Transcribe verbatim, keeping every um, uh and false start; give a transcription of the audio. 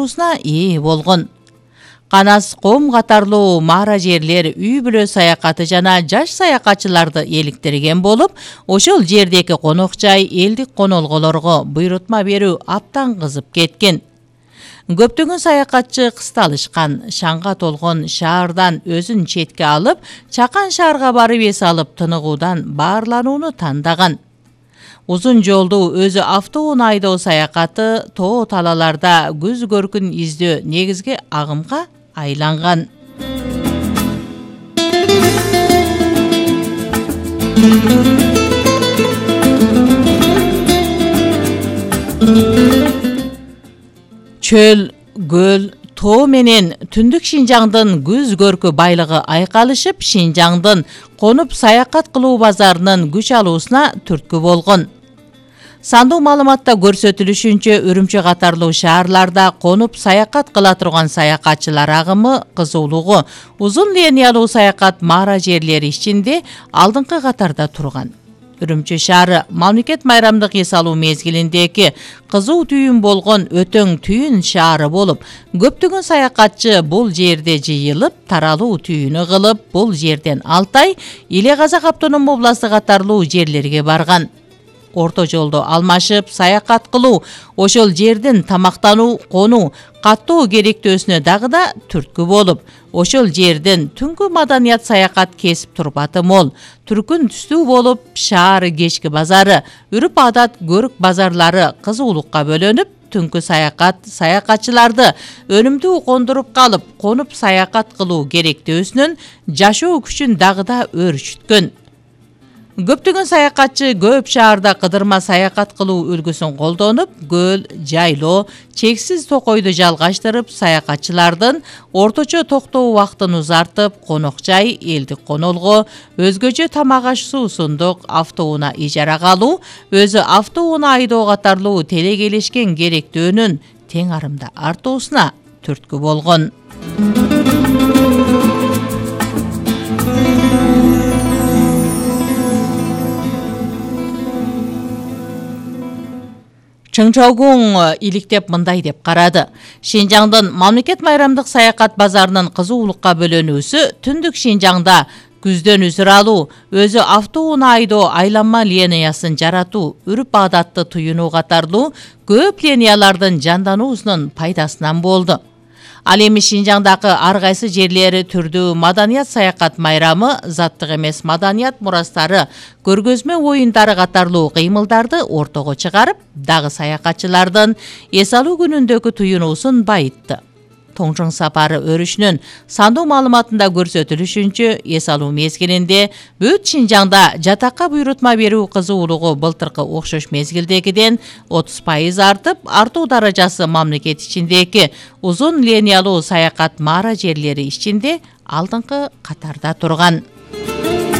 ээ болгон. Канас ком катарлуу мара жерлер үй бүлө саякаты жана жаш саякатчыларды эликтирген болуп, ошол жердеги конок жай элдик конолголорго буйрутма берүү абдан кызып кеткен. Көптөгөн саякатчы кысталышкан, шаңга толгон шаардан өзүн четке алып, чакан шаарга барып эс алып тыныгуудан баарланууну тандаган. Узун жолду өзү автоунаа айдоо саякаты тоо талаларда күз көркүн издөө негизги агымга айланган. Чөл, көл, тоо менен түндүк Шинжаңдын күз көркү байлыгы айкалышып, Шинжаңдын конуп саякат кылуу базарынын күч алуусуна түрткү болгон. Сандуу маалыматта көрсөтүлүшүнчө, Үрүмчү катарлуу шаарларда конуп саякат кыла турган саякатчылар агымы кызуулугу узун линиялуу саякат мара жерлери ичинде алдыңкы катарда турган. Үрүмчү шаары мамлекет майрамдык эс алуу мезгилиндеги кызуу түйүн болгон өтөң түйүн шаары болуп, көптөгөн саякатчы бул жерде жыйылып, таралуу түйүнү кылып, бул жерден Алтай, Иле Казак автономдук областы катарлуу жерлерге барган. Орто жолдо алмашып, саякат кылуу, ошол жердин тамактануу, конуу, каттоо керектөөсүнө дагы да түрткү болуп, ошол жердин түнкү маданият саякат кесип турбаты мол, түркүн түстүү болуп, шаар кечки базары, үрүп адат көрүк базарлары кызуулукка бөлөнүп, түнкү саякат саякатчыларды өнүмдүү кондуруп калып, конуп саякат кылуу керектөөсүнүн жашоо күчүн дагы да өөрчүткөн. Көптөгөн саякатчы көп шаарда кыдырма саякат кылуу үлгүсүн колдонуп, көл, жайлоо, чексиз токойду жалгаштырып, саякатчылардын орточо токтоо убактын узартып, конок жай, элдик конолго, өзгөчө тамак аш суусундук автоунаа ижарага алуу, өзү автоунаа айдоо катарлуу телекелешкен керектөөнүн тең арымда артуусуна түрткү болгон. Чыңчаугуң иликтеп мындай деп карады. Шинжаңдын мамлекет майрамдык саякат базарынын кызуулукка бөлөнүүсү түндүк Шинжаңда күздөн үзүр алуу, өзү автоунаа айдоо айланма линиясын жаратуу, үрүп адатты туюнуу катарлуу көп линиялардын жандануусунун пайдасынан болду. Ал эми Шинжаңдагы ар кайсы жерлери түрдүү маданият саякат майрамы, заттык эмес маданият мурастары, көргөзмө оюндары катарлуу кыймылдарды ортого чыгарып, дагы саякатчылардын эс алуу күнүндөгү туюнуусун байытты. Тоңжоң сапары өрүшүнүн сандуу маалыматында көрсөтүлүшүнчө, эс алуу мезгилинде бүт Шинжаңда жатакка буйрутма берүү кызуулугу былтыркы окшош мезгилдегиден отуз пайыз артып, артуу даражасы мамлекет ичиндеги узун линиялуу саякат мара жерлери ичинде алдыңкы катарда турган.